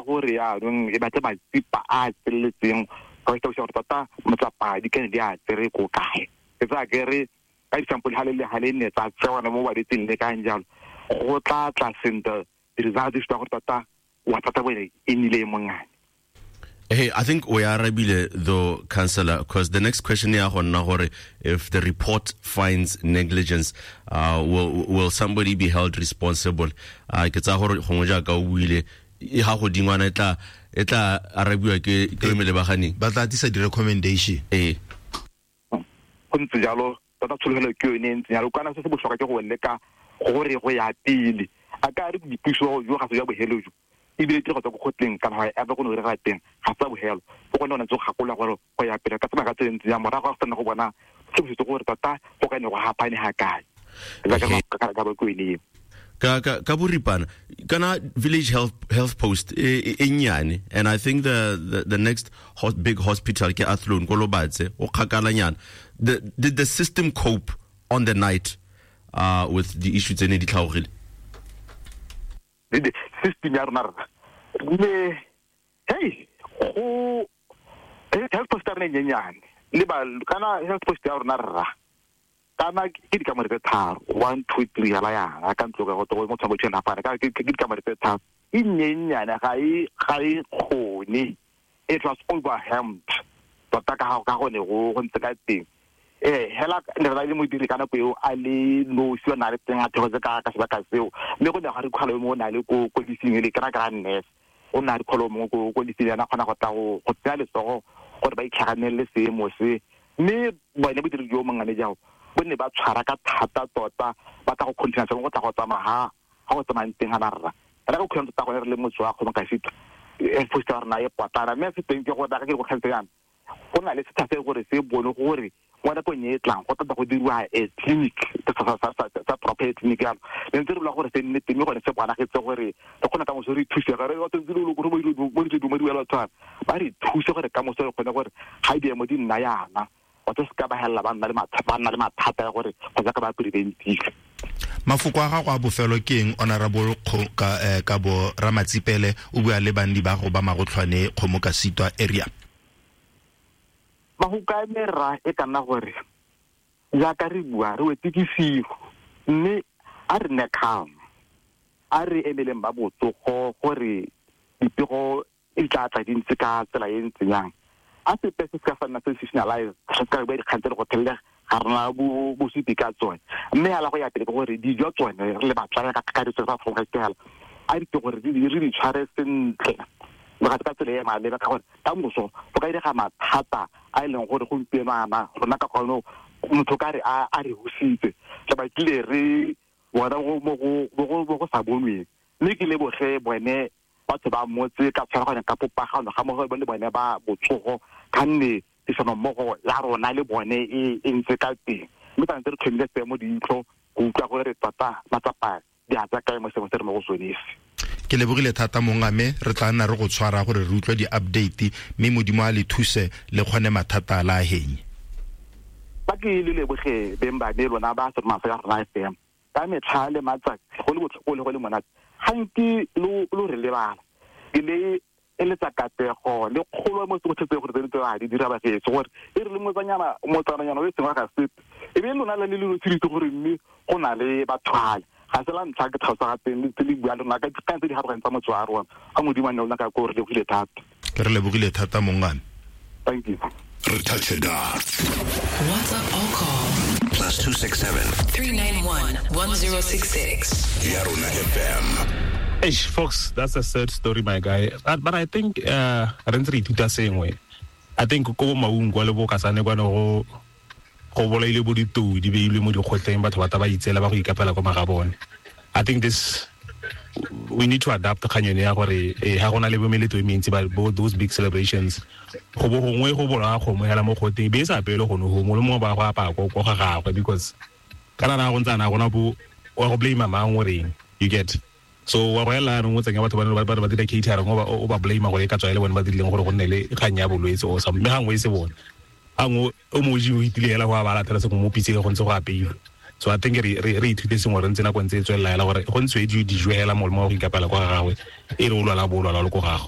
gore yaanong e batle matsipa a a tseneletseng go tlhalosa gore tota matsapa di kane di a tsere ko kae. Ke tsaya ke re ka disampole ga le le ga le nne tsa tsewana mo balwetseng le kang jalo, go tla tla sentle di-result di supa gore tota wa thata bone e nnile e mongane. Hey, I think we are arabile though, Councillor, because the next question ya go nna gore if the report finds negligence, will somebody be held responsible? Ke tsaya gore gongwe jaaka o buile, e ga godingwana e tla arabiwa ke melebaganeng. Ba tla tlisa di-recommendation. Ee. Go ntse jalo tota, tshologelo ke yone e ntseng jalo. Kana se se botlhokwa ke go leka gore go ya pele a ka re boipuso jo ga se jwa bogelo jo, ebile ke go tswa ko kgotleng kana ga ever go ne go teng ga sa bogelo go gone go ntse go gakola gore go ya pele ka tsamaya ka tse ntse ya morago ga go sena go bona se se gore tota go ka ne go hapane ga kae ka ba ko ene. Ka boripana kana village health post e nnyane, and I think the next big hospital ke Athlone ko Lobatse, o kgakalanyana. Did the system cope on the night with the issues tse ne di tlhaogile? System ya rona rra le hey go health post ya rona e nyenyane le ba kana health post ya rona rra kana ke dikamore tse tharo, one, two, three hela yana ka ntlo ka go mo tshwango tshwana fana ka ke dikamore tse tharo, e nyenyane, ga e kgone. It was overwhelmed tota ka gone go ntse ka teng. Hela ne re le modiri ka nako eo a le nosi o na le teng a thegotse ka sebaka seo, mme go ne ga re kgwalo mo o na le ko lising ele kry nurse o na re kgolo mongwe ko lising yana kgona go tla go tsaya letsogo gore ba itlhaganelele seemo se. Mme bone bodiri jo mongane jao bo ne ba tshwara ka thata tota, ba tla go continue go tla go tsamaya ga go tsamayang teng ga rra re ka kgona tota gone re le motse wa kgomo ka sitwa post ya rona e potlana. Mme se teng ke gore ka ke go tlhaletse yana go na le setha se gore se bone gore mo nakong e e tlang go tata go diriwa a clinic sa proper clinic yalo le ntse re bula gore se nne teng, mme gone se bonagetse gore re kgone ka moso re thuse ga re batho ntse le gore mo ditse mo di batho ba re thuse gore ka moso re kgone gore ga diemo di nna yana batho se ka ba helela ba nna le mathata ya gore kgotsa ka ba preventile. Mafoko a gago a bofelo ke eng, Honorable Kabo Ramatsipele, o bua le bandi ba go ba Magotlhwane Kgomo ka Sitwa area? Mafoko a me rra e ka nna gore jaaka re bua re wetse ke sigo, mme a re nne calm, a re emeleng ba botsogo gore dipego e tla tla di ntse ka tsela e ntseng yang. A sepe se ka sa nna sensationalize, se ka bua dikgang tse le go thelela ga rena bosupi ka tsone. Mme hala go ya pele ke gore dijo tsone re le batswana ka kakaretso fa go ka a di gore re di tshware sentle le ga ka tsela e maleba, ka gore ka moso go ka direga mathata a e leng gore gompieno ana rona ka kgone motho ka re a re husitse re batlile re bona mo go sa bonweng. Mme ke leboge bone batho ba motse ka tshwaraganya ka popagano ga mmogo le bone ba botsogo, ka nne tirisano-mmogo ya rona le bone e ntse ka teng, mme tshwanetse re tlhomile seemo diitlho go utlwa gore tota matsapa di a tsa kae mo seemo se re mo go sone se. Ke lebogile thata mongame, re tla nna re go tshwara gore re utlwe di-update, mme Modimo a le thuse le kgone mathata a la a henye. Ba ke le leboge beng ba me lona ba seroma sa rona FM ka metlha le matsatsi, go le botlhoko le go le monate gantsi lo re lebala. Ke le eletsa katlego le kgolo mo tsotlhe tse gore tse tse di dira bagetso gore e re le motsanyana motsananyana o e seng wa ga sepe e be lona le le lo gore mme go na le bathwale ga se la ntlha ke tlhalosa ga teng le tse le bua le rona ka dikgang tse di haroganyeng tsa motse wa rona. A Modimo a nne lona ka ko, re lebogile thata. Ke re lebogile thata mongame. Thank you. Re touch it dot. WhatsApp or call +267 391 1066. Yarona FM. Eish, folks, that's a sad story, my guy. But I think re ntse re ithuta sengwe. I think ko bo Maung kwa le bo Kasane kwane go bolaile bo ditou di beilwe mo dikgotleng, batho ba ta ba itseela ba go ikapela kwa magabone. I think this we need to adapt kgang yone ya gore ha go na le bo meletlo e mentsi ba bo those big celebrations, go bo gongwe go bolaya kgomo hela mo kgoteng be e sa apelwe gone go mongwe le mongwe ba go apaya ko ga gagwe, because kana na go ntse ana gona bo wa go blame mang o reng, you get? So wa go ela anong o tsenya batho ba ba dira catering, o ba blame gore e ka tswa e le bone ba dirileng gore go nne le kgang ya bolwetse o sa mme gangwe e se bone, gangwe o moji o itile hela go a ba latela sengwe mo pitseng go ntse go apeilwe. So I think re ithute sengwe re ntse nako ntse e tswelela hela gore go ntswe dijo hela molemo wa go ikapela kwa ga gagwe e re o lwala bo o lwala le ko gago.